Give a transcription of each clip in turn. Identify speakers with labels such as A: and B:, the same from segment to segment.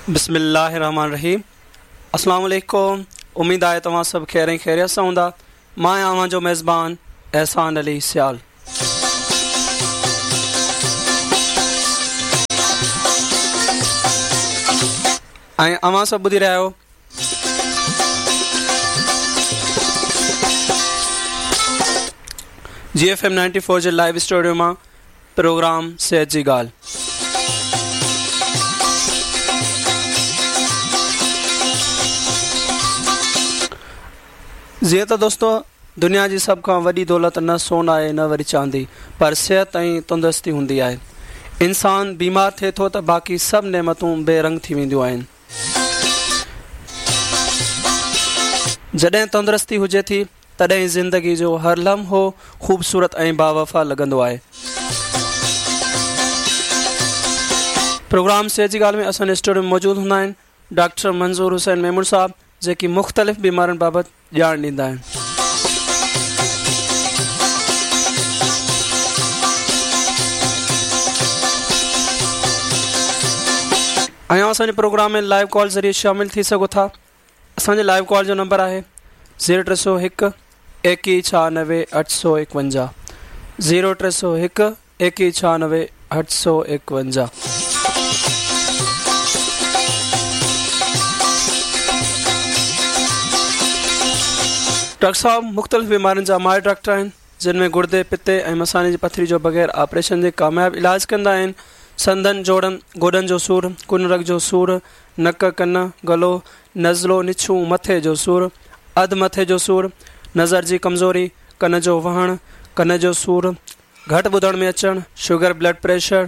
A: بسم الله الرحمن الرحيم السلام عليڪم اميد آهي توهان سڀ خير ۽ خيريت سان هوندا مان آهيان اوهان جو ميزبان احسان علي سيال. ۽ اوهان سڀ ٻڌي رهيا آهيو جي ايف ايم 94 جي لائيو اسٽوڊيو مان پروگرام صحت جي ڳالهه. جيئن ته دوستو دنيا جي سڀ کان وڏي دولت نه سون آهي نه وري چاندي پر صحت ۽ تندرستي هوندي آهي. انسان بيمار ٿئي ٿو ته باقي سڀ نعمتون بي رنگ ٿي وينديون آهن. جڏهن تندرستي هجي ٿي تڏهن زندگي جو هر لمحو خوبصورت ۽ باوفا لڳندو آهي. پروگرام صحت جي ڳالهه ۾ اسان جي اسٽوڊيو ۾ موجود هوندا آهن ڊاڪٽر منظور حسين ميمڻ صاحب جيڪي مختلف بيمارين بابت ڄاڻ ڏيندا آهن. ۽ اسان جي پروگرام ۾ لائيو ڪال ذريعي شامل ٿي سگهو ٿا. اسان جي لائيو ڪال جو نمبر آهي زيرو 301 21 96 851 زيرو 301 21 96 851. ڊاڪٽر صاحب مختلف بيمارين جا ماهر ڊاڪٽر آهن جن ۾ گڙدي، پتي ۽ مثاني جي پٿري جو بغير آپريشن جي ڪامياب علاج ڪندا آهن. سنڌن، جوڙن، گوڏن جو سور، ڪن رڳ جو سور، نڪ، ڪن، گلو، نزلو، نڇون، مٿي جو سور، اڌ مٿي جو سور، نظر جي ڪمزوري، ڪن جو وهڻ، ڪن جو سور، گهٽ ٻڌڻ ۾ اچڻ، شگر بلڊ پريشر،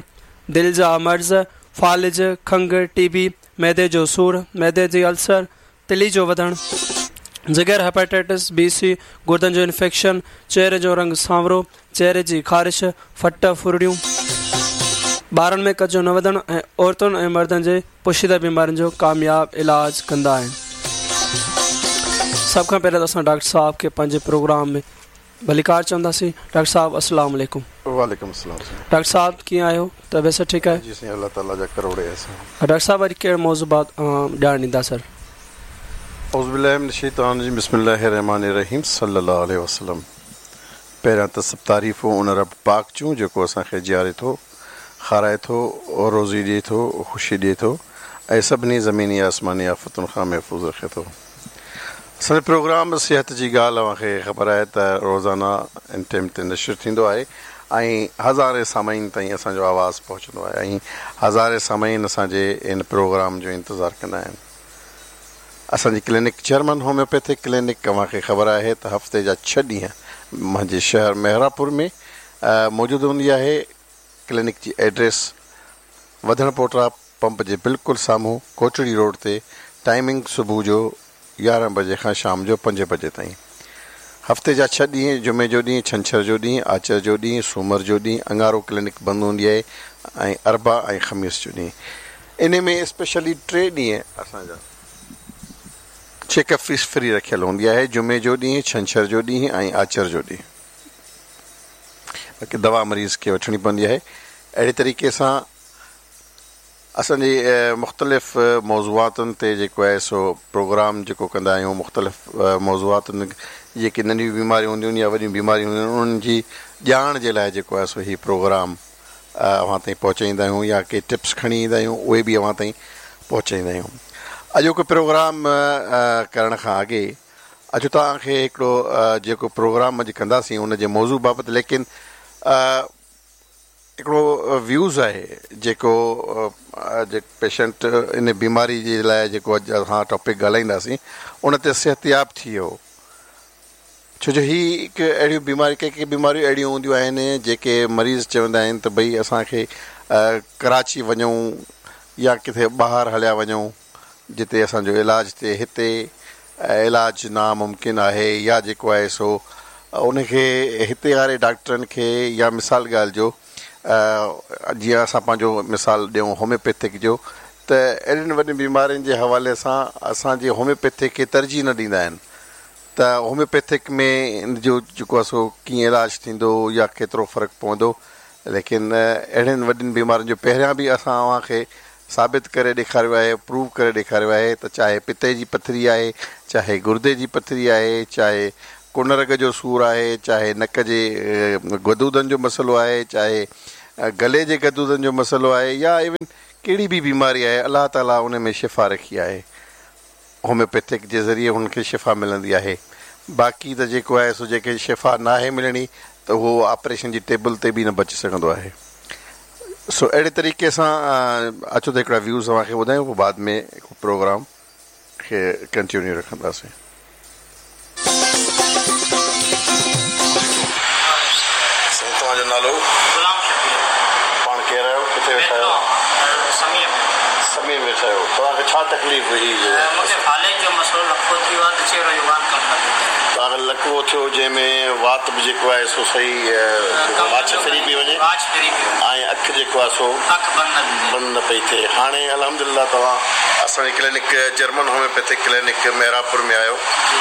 A: دل جا مرض، فالج، کنگهه، ٽي بي، معدي جو سور، معدي جي السر، تلي جو وڌڻ، جگر، هيپاٽائٽس بي سي، گردن جو انفيڪشن، چهري جو رنگ سانورو، چهري جي خارش، ڦٽ، ڦرڙيون، ٻارن ۾ قد جو نه وڌڻ ۽ عورتن ۽ مردن جي پوشيده بيمارين جو ڪامياب علاج ڪندا آهن. سڀ کان پهريان ته اسان ڊاڪٽر صاحب کي پنهنجي پروگرام ۾ ڀليڪار چونداسين. ڊاڪٽر صاحب السلام عليڪم.
B: وعليڪم السلام سائين.
A: ڊاڪٽر صاحب ڪيئن آهيو طبيعت سڀ ٺيڪ آهي.
B: جي سائين الله تعالي جا ڪروڙين احسان.
A: ڊاڪٽر صاحب اڄ ڪهڙي موضوع بابت ڄاڻ ڏيندا سر.
B: اعوذ بالله من الشيطان الرجيم بسم الله الرحمٰن الرحيم صلي الله عليه وسلم پهريان ته سڀ تعريفون ان رب پاڪ جون جيڪو اسان کي جياري ٿو کارائي ٿو روزي ڏئي ٿو خوشي ڏئي ٿو ۽ سڀني زميني آسماني آفتن کان محفوظ رکي ٿو. اسان جو پروگرام صحت جي ڳالهه اوهان کي خبر آهي ته روزانه ان ٽيم تي نشر ٿيندو آهي ۽ هزارين سامعين تائين اسان جو آواز پهچندو آهي ۽ هزارين سامعين اسان جي ان پروگرام جو انتظار ڪندا آهن. اسان جي ڪلينڪ جرمن هوميوپيٿڪ ڪلينڪ اوهان کي خبر آهي ته هفتي جا ڇهه ڏينهن منهنجي شهر محرابپور ۾ موجود هوندي آهي. ڪلينڪ جي ايڊريس وڌڻ پوٽا پمپ جي بلڪل سامهون ڪوٽڙي روڊ تي ٽائمنگ صبح جو 11 بجي کان شام جو 5 بجي تائين هفتي جا ڇهه ڏينهن جمعي جو ڏينهن ڇنڇر جو ڏينهن آچر جو ڏينهن سومر جو ڏينهن اڱارو ڪلينڪ بند هوندي آهي ۽ اربع ۽ خميس جو ڏينهن انهي ۾ اسپيشلي ٽي ڏينهن اسان جا چيڪ اپ فيس فري رکيل هوندي آهي جمعي جو ڏينهن ڇنڇر جو ڏينهن ۽ آچر جو ڏينهن. باقي دوا مريض کي وٺڻي پوندي آهي اهڙي طريقي سان اسان جي مختلف موضوعاتن تي جيڪو آهي سو پروگرام جيڪو ڪندا آهيون مختلف موضوعاتن جيڪي ننڍيون بيماريون هونديون آهن يا وڏيون بيماريون هونديون آهن انهن جي ڄاڻ جي لاء جيڪو آهي سو هي پروگرام اوهان تائين پهچائيندا آهيون يا ڪي ٽپس کڻي ايندا آهيون اهي به اوهان تائين پهچائيندا آهيون اڄوڪو پروگرام ڪرڻ کان اڳي اچو توهان کي هڪڙو جيڪو پروگرام اڄ ڪنداسين ان جي موضوع بابت ليڪن هڪڙو ويوز آهي جيڪو پيشنٽ ان بيماري جي لاء جيڪو اڄ اسان ٽاپڪ ڳالهائينداسين ان تي صحتياب ٿي ويو ڇو جو هي هڪ اهڙيون بيماري ڪي ڪي بيماريون اهڙيون هونديون آهن جيڪي مريض چوندا آهن ته ڀئي اسان کي ڪراچي وڃون يا ڪٿي ٻاهر هليا وڃون جتي اسان جو علاج ٿئي هتي علاج ناممڪن آهي يا جيڪو آهي سو ان کي هتي واري ڊاڪٽرن کي يا مثال ڳالهه جو جيئن اسان پنهنجو مثال ڏيون هوميوپيٿڪ جو ته اهڙين وڏين بيمارين جي حوالي سان اسان جي هوميوپيٿڪ کي ترجيح نه ڏيندا آهن ته هوميوپيٿڪ ۾ ان جو جيڪو آهي سو ڪيئن علاج ٿيندو يا ڪيترو فرق پوندو ليڪن اهڙين وڏين بيمارين جو پهريان به اسان اوهان کي ثابت ڪري ڏيکاريو آهي پروو ڪري ڏيکاريو آهي ته چاهي پتي جي پٿري آهي چاهي گردي جي پٿري آهي چاهي ڪن رڳ جو سور آهي چاهي نڪ جي غدودن جو مسئلو آهي چاهي گلي جي غدودن جو مسئلو آهي يا ايون ڪهڙي به بيماري آهي الله تعالي ان ۾ شفا رکي آهي هوميوپيٿڪ جي ذريعي هن کي شفا ملندي آهي باقي ته جيڪو آهي سو جنهن کي شفا ناهي ملڻي ته اهو آپريشن جي ٽيبل تي به نه بچي سگهندو آهي سو اهڙي طريقي سان اچو ته هڪڙا ويوز اوهان کي ٻڌايون پوء بعد ۾ پروگرام کي ڪنٽينيو رکنداسين. سائين توهان جو نالو؟
C: غلام شبير.
B: پاڻ ڪير آهيو؟ ڪٿي ويٺا آهيو؟
C: سميع ۾.
B: سميع ۾ ويٺا آهيو. توهان کي ڇا تڪليف هئي جو؟
C: مون کي فالج جو مسئلو لقوو ٿي ويو آهي ته چهرو يوان ڪم نه پيو ڪري.
B: توهان کي لقوو ٿيو جنهن ۾ وات به جيڪو آهي سو صحيح واڇ ڦري پئي وڃي
C: واڇ ڦري پئي وڃي
B: ۽ اک جيڪو آهي سو
C: اک بند نه پئي ٿئي.
B: بند نه پئي ٿئي. هاڻي الحمدلله توهان اسان جي clinic German homeopathic clinic Mehrabpur ۾ آيو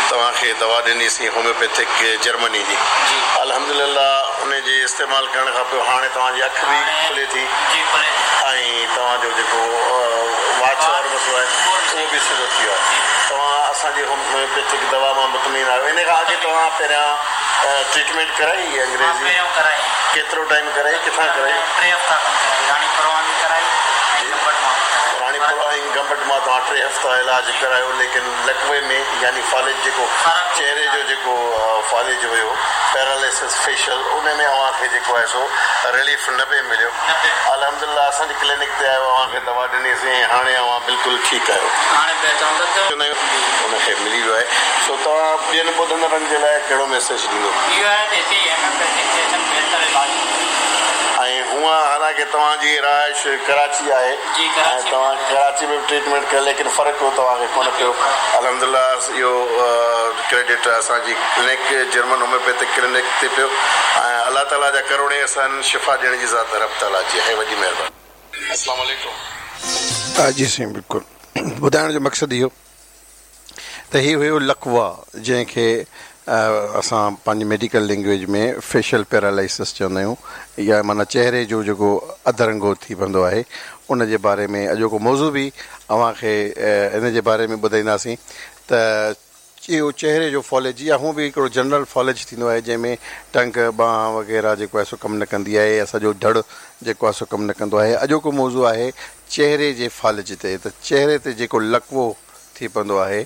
B: توهان کي دوا ڏني سين هوميوپيٿڪ جرمني جي الحمدلله ان جي استعمال ڪرڻ کان پوء هاڻي توهان جي اک به کلي ٿي ۽ توهان جو جيڪو واڇ وارو مسئلو آهي اهو به سڌو ٿي ويو آهي توهان اسان جي هوميوپيٿڪ دوا مان مطمئن آهيو ان کان اڳي توهان پهريان ٽريٽمينٽ ڪرائي انگريزي ڪيترو ٽائيم ڪرائي ڪٿان ڪرائي راڻيپور ۽ گمبٽ مان توهان ٽي هفتا علاج ڪرايو ليڪن لقوي ۾ يعني فالج جيڪو چهري جو جيڪو فالج هيو پيراليسس فيشل ان ۾ اوهان کي جيڪو آهي سو رليف نه پئي مليو الحمدلله اسان جي ڪلينڪ تي آيو اوهان کي دوا ڏني سين ۽ هاڻي اوهان بلڪل ٺيڪ آهيو. ان کي ملي ويو آهي سو توهان ٻين ٻڌندڙن جي لاء ڪهڙو ميسيج ڏيندو.
C: اهو آهي ته هتي هوميوپيٿڪ تي اچن بهتر علاج ٿيندو.
B: ۽ هونئن حالانڪه توهان جي رهائش ڪراچي آهي ۽ توهان ڪراچي ۾ به ٽريٽمينٽ ڪئي ليڪن فرق توهان کي ڪونه پيو الحمدلله اهو ڪريڊٽ اسان جي ڪلينڪ جرمن هوميوپيٿڪ ڪلينڪ تي پيو ۽ الله تعالي جا ڪروڙين احسان شفا ڏيڻ جي ذات رب تعالي جي آهي وڏي مهرباني.
D: اسلام عليڪم.
B: جي سائين بلڪل ٻڌائڻ جو مقصد اهو ته هي هيو لقوه جنهن کي اسان پنهنجي ميڊيڪل لينگويج ۾ فيشل پيرالائسس چوندا آهيون يا معنيٰ چهري جو جيڪو اڌ رنگو ٿي پوندو آهي ان جي باري ۾ اڄوڪو موضوع به اوهان کي ان جي باري ۾ ٻڌائينداسين ته اهو چهري جو فالج يا هونء به هڪڙو جنرل فالج ٿيندو آهي جنهن ۾ ٽنگ ٻانهن وغيره جيڪو آهي سو ڪم نه ڪندي آهي يا سڄو ڌڙ جيڪو آهي سو ڪم نه ڪندو آهي اڄوڪو موضوع آهي چهري جي فالج تي ته چهري تي جيڪو لقوو ٿي پوندو آهي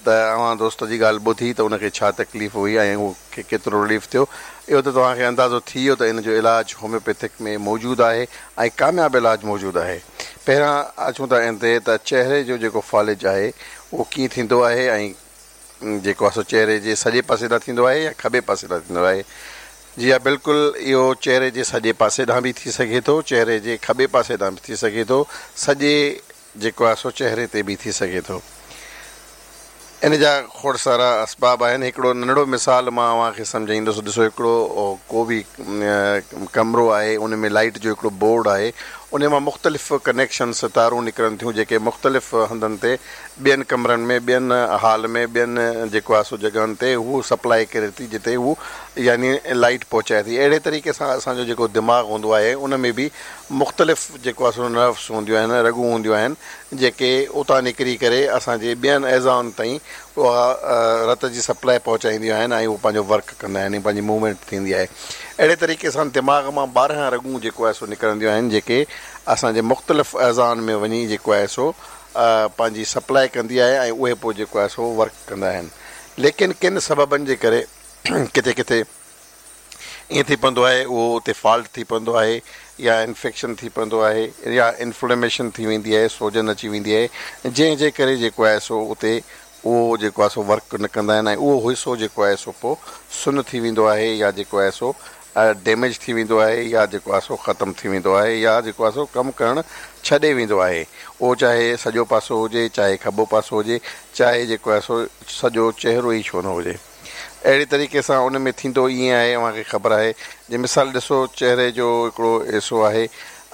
B: ته اوهان دوست جي ڳالهه ٻڌي ته ان کي ڇا تڪليف هئي ۽ ان کي ڪيترو رليف ٿيو اهو ته توهان کي اندازو ٿي ويو ته ان جو علاج هوميوپيٿڪ ۾ موجود آهي ۽ ڪامياب علاج موجود آهي پهريان اچون ٿا ان تي ته چهري جو جيڪو فالج آهي اهو ڪيئن ٿيندو آهي ۽ جيڪو آهي سو چهري جي سڄي پاسي ڏانهن ٿيندو آهي يا کٻي پاسي ڏانهن ٿيندو آهي جي ها بلڪل اهو چهري جي سڄي پاسي ڏانهن به ٿي سگهي ٿو چهري جي کٻي پاسي ڏانهن به ٿي سگهي ٿو سڄي جيڪو آهي سو چهري تي به ٿي سگهي ٿو. ان جا کوڙ سارا اسباب آهن. هڪڙو ننڍڙو مثال مان اوهان کي سمجهائيندس. ڏسو هڪڙو ڪو به ڪمرو آهي ان ۾ لائيٽ جو هڪڙو بورڊ آهي ان مان مختلف ڪنيڪشنس تارون نڪرن ٿيون جيڪي مختلف هنڌن تي ٻين ڪمرن ۾ ٻين هال ۾ ٻين جيڪو آهي سو جڳهن تي هو سپلائي ڪري ٿي جتي هو يعني لائيٽ پهچائي ٿي. اهڙي طريقي سان اسان جو جيڪو دماغ هوندو آهي ان ۾ به مختلف جيڪو آهي سو نروس هونديون آهن، رڳون هونديون آهن، جيڪي اتان نڪري ڪري اسان جي ٻين اعضائن تائين اها رت جي سپلاء پهچائينديون آهن ۽ اهو پنهنجو ورڪ ڪندا آهن ۽ پنهنجي موومينٽ ٿيندي آهي. اهڙي طريقي سان دماغ مان 12 رڳون جيڪو آهي سو نڪرنديون آهن جيڪي اسان جي مختلف اعضائن ۾ وڃي جيڪو آهي سو پنهنجي سپلاء ڪندي آهي ۽ اهي پوء جيڪو آهي سو ورڪ ڪندا آهن. ليڪن ڪن سببن جي ڪري ڪٿي ڪٿي ائين ٿي پوندو آهي اهو اتي فالٽ ٿي پوندو آهي يا انفيڪشن ٿي پوندو آهي يا انفليميشن ٿي ويندي آهي سوجن اچي ويندي آهي جنهن جي ڪري جيڪو آهي سو اتي اهو جيڪو آهي سو ورڪ نه ڪندا آهن ۽ اهو حصو جيڪو آهي سو پوء سن ٿي ويندو آهي يا جيڪو آهي سو ڊيميج ٿي ويندو آهي يا جيڪو آهي سو ختم ٿي ويندو آهي يا جيڪو آهي سو ڪم ڪرڻ ڇڏي ويندو آهي اهو چاهي سڄو پاسو هجي چاهي کٻو پاسو هجي چاهي جيڪو آهي سو سڄو چهرو ئي ڇو نه هجي. اهڙي طريقي سان ان ۾ ٿيندو ائين آهي اوهان کي خبر آهي جي مثال ڏسو چهري جو هڪڙو حصو آهي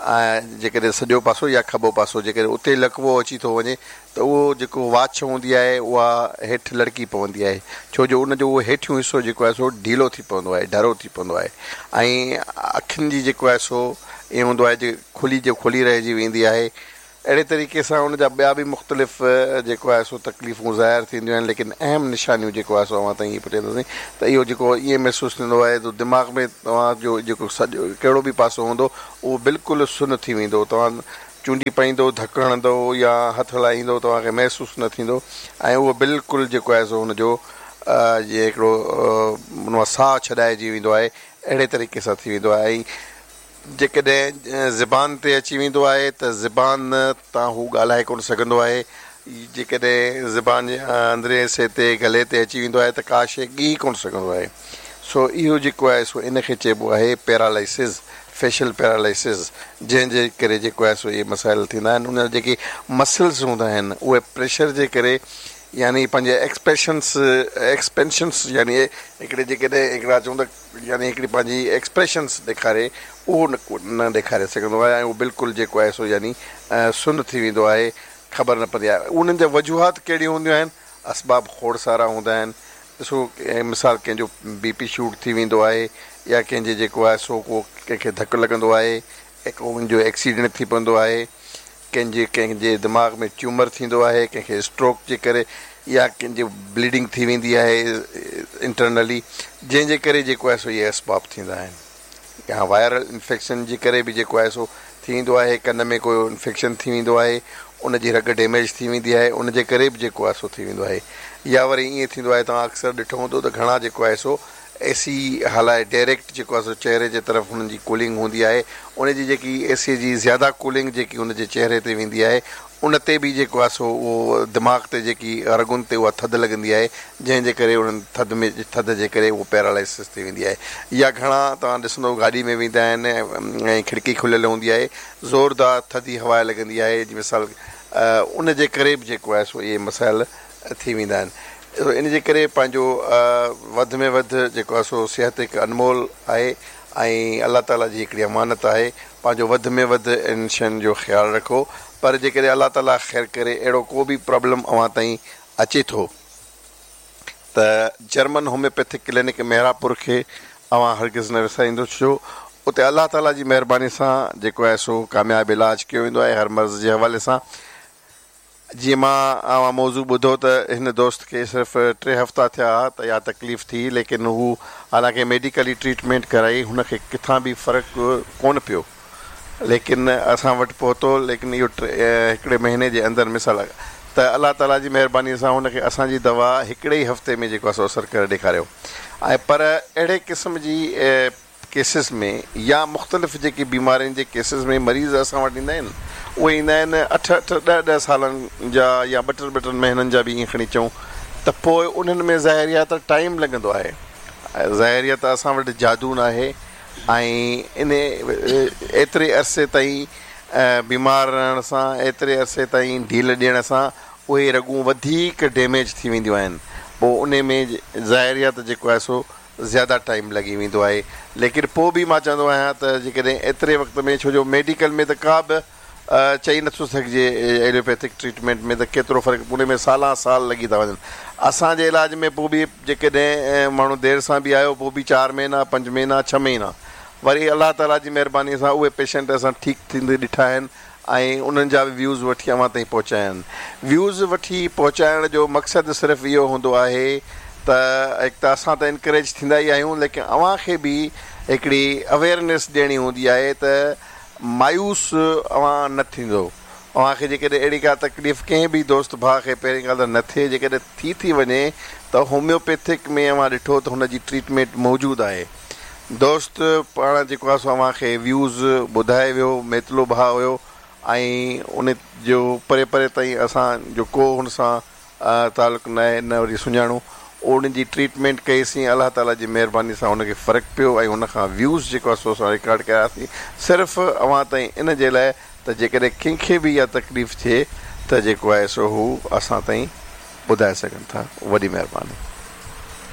B: ۽ جيڪڏهن سڄو پاسو يا کٻو پاسو جيڪڏهن اتي لقوو اچي ٿو وڃي ته اهو جيڪو واڇ هوندي آهي اها هيٺ لڙڪي پوندي آهي ڇو جو ان جو اهو هيٺيون حصو جيڪو آهي سو ڍيلو ٿي پوندو آهي ڍرو ٿي پوندو آهي ۽ اکين جي جيڪو آهي سو ائين هوندو آهي جي کلي جو کلي رهجي ويندي آهي. اهڙي طريقي سان ان جا ٻيا به مختلف جيڪو آهي سو تڪليفون ظاهر ٿينديون آهن ليڪن اهم نشانيون جيڪو آهي سو اوهان تائين هي پهچائينداسين ته اهو جيڪو ائين محسوس ٿيندو آهي ته دماغ ۾ توهان جو جيڪو سڄو ڪهڙو به پاسو هوندو اهو بلڪل سن ٿي ويندو توهان چونڊي پائيندو ڌڪ هڻندو يا هٿ هلائيندو توهان کي محسوس نه ٿيندو ۽ اهو بلڪل جيڪو آهي سو ان جو جيئن هڪڙو ان مان ساهه ڇڏائجي ويندو آهي اهڙي طريقي سان ٿي ويندو آهي ۽ جيڪڏهن زبان تي اچي ويندو آهي ته زبان تان هو ڳالهائي ڪونه سگهندو آهي. جيڪڏهن زبان جي اندرين حصي تي، گلي تي اچي ويندو آهي ته ڪا شيء ڳيهي ڪونه سگهندو آهي. سو اهو جيڪو آهي سو ان کي چئبو آهي پيرالائسز، Facial Paralysis، جنهن جي ڪري جيڪو آهي سو اهي مسائل ٿيندا آهن. ان جا جيڪي مسلز هوندا آهن اهي پريشر جي ڪري يعني پنهنجي ايڪسپيشنس، Expansions، يعني هڪڙي جيڪڏهن هڪڙا چئون ته يعني هڪڙي پنهنجي ايڪسپريشنس ڏيکاري اهو نه ڏيکاري سگهندو آهي ۽ اهو بلڪل جيڪو آهي سو يعني سن ٿي ويندو آهي خبر نه پوندي آهي انهن جا وجوهات ڪهڙيون هونديون آهن اسباب کوڙ سارا هوندا آهن ڏسو مثال ڪنهن جو بي پي شوٽ ٿي ويندو آهي يا ڪنهن جي جيڪو آهي سو ڪو ڪنهن کي ڌڪ لڳندو آهي ۽ ڪو ان جو ايڪسيڊنٽ ٿي پوندو آهي ڪنهن جي ڪنهن جي دماغ ۾ ٽيومر ٿيندو آهي ڪنهن کي اسٽروڪ جي ڪري يا ڪنهن جي بليڊنگ ٿي ويندي آهي انٽرنلي جنهن جي ڪري جيڪو آهي سو اهي اسباب ٿيندا آهن يا وائرل انفيڪشن جي ڪري به جيڪو آهي سو ٿي ويندو آهي ڪن ۾ ڪو انفيڪشن ٿي ويندو آهي ان جي رڳ ڊيميج ٿي ويندي آهي ان جي ڪري به جيڪو آهي سو ٿي ويندو آهي يا وري ائين ٿيندو آهي توهان اڪثر ڏٺو هوندو ته گهڻا جيڪو آهي سو اي سي هلائي ڊائريڪٽ جيڪو آهي سو چهري جي طرف هنن جي ڪولنگ هوندي آهي ان جي جيڪي اي سي جي زياده ڪولنگ جيڪي هن جي چهري تي ويندي آهي ان تي به جيڪو آهي سو اهو دماغ تي جيڪي رڳن تي اها ٿڌ لڳندي آهي جنهن جي ڪري انهن ٿڌ ۾ ٿڌ جي ڪري اهو پيرالائسس ٿي ويندي آهي يا گهڻا توهان ڏسندو گاڏي ۾ ويندا آهن ۽ کڙڪي کليل هوندي آهي زوردار ٿڌي هوا لڳندي آهي جي مثال ان جي ڪري به جيڪو آهي سو اهي مسائل ٿي ويندا آهن ان جي ڪري پنهنجو وڌ ۾ وڌ جيڪو آهي سو صحت هڪ انمول آهي ۽ الله تعالي جي هڪڙي امانت آهي پنهنجو وڌ ۾ وڌ ان شين جو خيال رکو پر جيڪڏهن الله تعالي خير ڪري اهڙو ڪو به پرابلم اوهان تائين اچي ٿو ته جرمن هوميوپيٿڪ ڪلينڪ محرابپور کي اوهان هرگز نه وساريندو ڇو اتي الله تعالي جي مهرباني سان جيڪو آهي سو ڪامياب علاج ڪيو ويندو آهي هر مرض جي حوالي سان جيئن مان اوهان موضوع ٻڌو ته هن دوست کي صرف ٽي هفتا ٿيا ها ته اها تڪليف ٿي ليڪن هو حالانڪه ميڊيڪلي ٽريٽمينٽ ڪرائي هن کي ڪٿان به فرق ڪونه پيو ليڪن اسان وٽ پهتو ليڪن اهو هڪڙي مهيني جي اندر مثال ته الله تعالي جي مهرباني سان هن کي اسان جي دوا هڪڙي ئي هفتي ۾ جيڪو آهي سو اثر ڪري ڏيکاريو ۽ پر اهڙي قسم جي ڪيسز ۾ يا مختلف جيڪي بيمارين جي ڪيسز ۾ مريض اسان وٽ ايندا آهن اهي ايندا آهن اٺ اٺ ڏهه ڏهه سالن جا يا ٻه ٽن ٻه ٽن مهينن جا به ائين کڻي چئون ته پوء انهن ۾ ظاهر آهي ته ٽائيم لڳندو آهي ظاهر آهي ته اسان وٽ جادو ناهي ۽ ان ايتري عرصي تائين بيمار رهڻ سان ايتري عرصي تائين ڍيل ڏيڻ سان اهي رڳون وڌيڪ ڊيميج ٿي وينديون آهن پوء انهي ۾ ظاهر آهي ته جيڪو آهي سو زياده ٽائيم لڳي ويندو آهي ليڪن پوء به مان چوندو آهيان ته جيڪڏهن ايتري وقت ۾ ڇو جو ميڊيڪل ۾ ته ڪا به چئي نٿو سگهجي ايلوپيٿڪ ٽريٽمينٽ ۾ ته ڪيترو فرق ان ۾ سالان سال لڳي ٿا وڃن اسان جي علاج ۾ پوء به جيڪڏهن ماڻهو دير سان به آيو پوء به چار مهينا پنج مهينا ڇهه مهينا وري الله تعالي جي مهرباني سان اهي پيشنٽ اسان ٺيڪ ٿيندي ڏٺا آهن ۽ انهن جا به ويوز وٺي اوهان تائين پهچايا آهن. ويوز وٺي پهچائڻ جو مقصد صرف اهو هوندو آهي ته هڪ ته اسان ته انڪريج ٿيندا ئي آهيون ليڪن اوهان کي به هڪڙي اويئرنيس ڏيڻي هوندي آهي ته مايوس اوهان نه ٿيندو اوهان کي جيڪڏهن اهڙي ڪا تڪليف ڪنهن به دوست ڀاء کي پهرين ڳالهه ته نه ٿئي جيڪڏهن ٿي ٿي وڃي ته هوميوپيٿڪ ۾ اوهان ڏٺو ته هن جي ٽريٽمينٽ موجود آهي. دوست پاڻ جيڪو آهي سو اوهان کي ويوز ٻڌائي ويو ميتلو ڀاء هيو ۽ ان جو پري پري تائين اسان جو ڪو هن سان تعلق نه آهي نه وري سڃاڻو ان جي ٽريٽمينٽ ڪئي سين الله تعالي جي مهرباني سان هن کي فرق پيو ۽ هن کان ويوز جيڪو آهي سو اسان رڪارڊ ڪياسين صرف اوهان تائين ان جي لاء ته جيڪڏهن ڪنهن کي به اها تڪليف ٿئي ته جيڪو آهي سو هو اسان تائين ٻڌائي سگهن ٿا وڏي مهرباني.